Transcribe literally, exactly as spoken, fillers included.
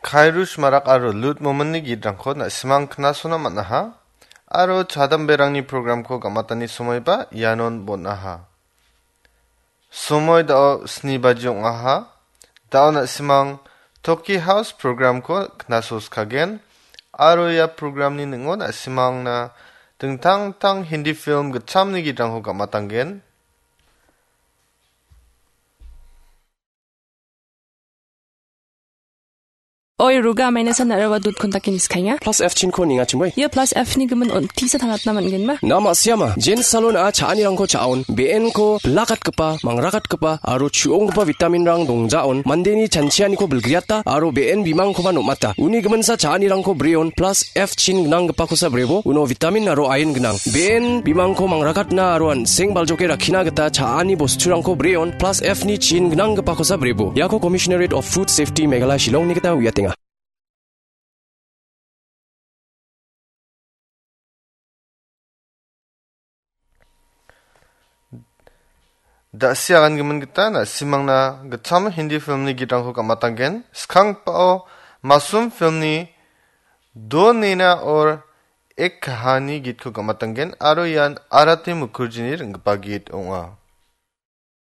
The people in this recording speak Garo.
Kairush Marak aro Lut Mominni gitrangko na·simang knasona man·aha. Aro chadamberangni programko gamatani somoiba ianon bon·aha. Somoi dao sni baji ong·aha. Dao na·simang Toki House programko knasoskagen. Aro ia programni ning·o na·simangna dingtang dingtang Hindi film gitchamni gitrangko gamatanggen. Oi, Ruga, maina san araba dut kontakin iskainga. Plus F chinko ninga chimoi. Ia plus F ni gimin on tisa tangatna man·genma. Na ma·siama, Jen Salon a cha·anirangko cha·on, be·enko bilakatgipa, mangrakatgipa, aro chu·onggipa vitaminrang dongjaon, mandeni chanchianiko bilgriata, aro be·en bimangkoba nom·ata. Uni giminsa cha·anirangko breon, plus F chin gnanggipakosa brebo, uno vitamin aro iron gnang. Be·en bimangko mangrakatna aro an·seng baljoke rakkina gita cha·ani bosturangko breon, plus F ni chin gnanggipakosa brebo. Iako Commissionerate of Food Safety Meghalaya Shillongni gita uiatenga. Da·si agangimin gita na·simangna gitcham Hindi filmni gitrangko gamatanggen. Skangpao Masum filmni Do Nena Aur Ek Kahani gitko gamatanggen aro ian Arati Mukherjini ring·gipa git ong·a.